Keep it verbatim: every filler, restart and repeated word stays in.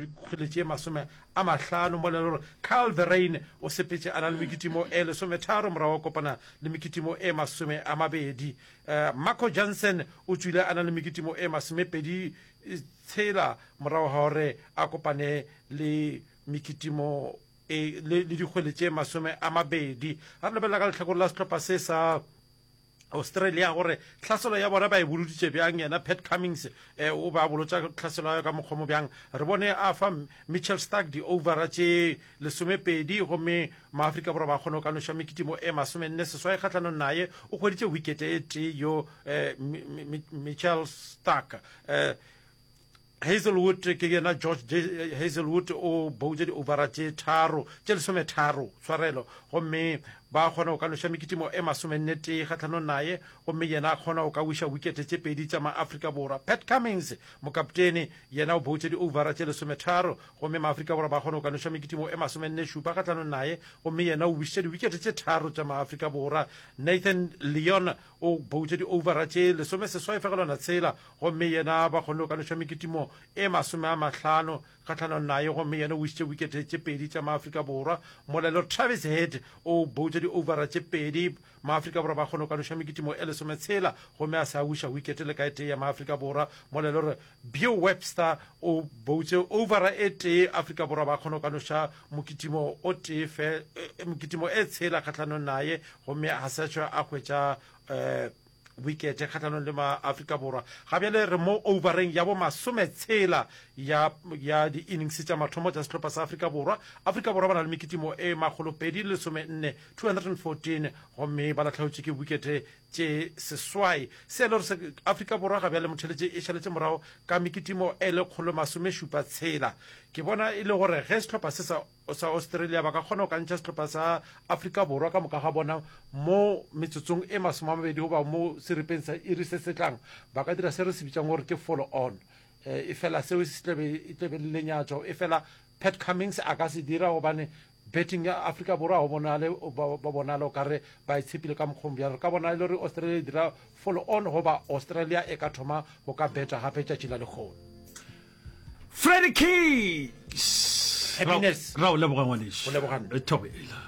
dikgwele tše masome a mahlano, mola e le gore Kyle Verreynne o sepetše a na le mekitimo e lesometharo morago a kopana le mekitimo e masome a mabedi. Marco Jansen o tšwile a na le mekitimo e masomepedi tshela morago ga gore a kopane le mekitimo e le le dikgwele tše masome a mabedi. Ga re lebelela ka lehlakore la sehlopha se sa Australia gore tlhaselo ya bona ba e boloditše bjang, yena Pat Cummins eh, o be a bolotša tlhaselo ya ka mokgwa mo bjang. Re bone a fa Mitchell Starc di-overa tše lesomepedi gomme Maafrika Borwa ba kgone go ka noša mekitimo e masomenne seswai kgahlanong naye. O hweditše wikete e tee yo eh, Mitchell Starc. Eh, Hazelwood ke yena George Hazelwood o boutše di-overa tše tharo tše lesometharo tshwarelo gomme ba kgona go ka noša mekitimo e masomenne tee kgahlanong naye gomme yena a kgona go ka wiša wikete tše pedi tša Maafrika Borwa. Pat Cummins mokaptene yena o boutše di-overa tše lesometharo gomme Maafrika Borwa ba kgona go ka noša mekitimo e masomenne šupa kgahlanong naye gomme yena o wišitše diwikete tše tharo tša Maafrika Borwa. Nathan Lyon o boutše di-overa tše lesomeseswai fegelwana tshela gomme yena ba kgonne go ka noša mekitimo e masome a mahlano kgahlanong naye gomme yena o wišitše wikete tše pedi tša Maafrika Borwa. Molelo Travis Head o boutše di-overa tše pedi, Maafrika Borwa ba kgone go ka noša mekitimo e lesometshela gomme a se a wiša wikete le ka e tee ya Maafrika Borwa. Molelo re Beau Webster o boutše overa e tee, Afrika Borwa ba kgone go ka noša mokitimo o tee fe, mokitimo e tshela kgahlanong naye gomme a se a tšwa a hwetša um wikete kgahlanong le Maafrika Borwa. Ga bjale re mo overeng ya bo masometshela ya ya di-innings tša mathomo tša sehlopha sa Afrika Borwa. Afrika Borwa ba na le mekitimo e makgolopedi le lesomenne, two hundred and fourteen, gomme ba lahlegetšwe ke wikete tše seswai. Se e le gore se Afrika Borwa ga bjale motheletše e šaletše morago ka mekitimo e lekgolo masomešupa tshela. Ke bona e le gore ge sehlopha se sa sa Australia ba ka kgona go ka ntšha sehlopha sa Afrika Borwa ka moka ga bona mo metsotsong e masome a mabedi goba mo seripeng sa iri se se tlang, ba ka dira se re se bitšang gore ke follow on. E fela seo se tla be e tla be le lenyatšo, e fela Pat Cummins a ka se dira gobane betting ya Afrika Borwa ga go bonale ba bonala o ka re ba e tshepile ka mokgwa o bjalo. Re ka bona e le gore Australia e dira follow on goba Australia e ka thoma go ka beta gape tšatši la lekgono. Freddy Keys. Happiness. Ra o leboga ngwanešu. Go leboga nna. Thobela.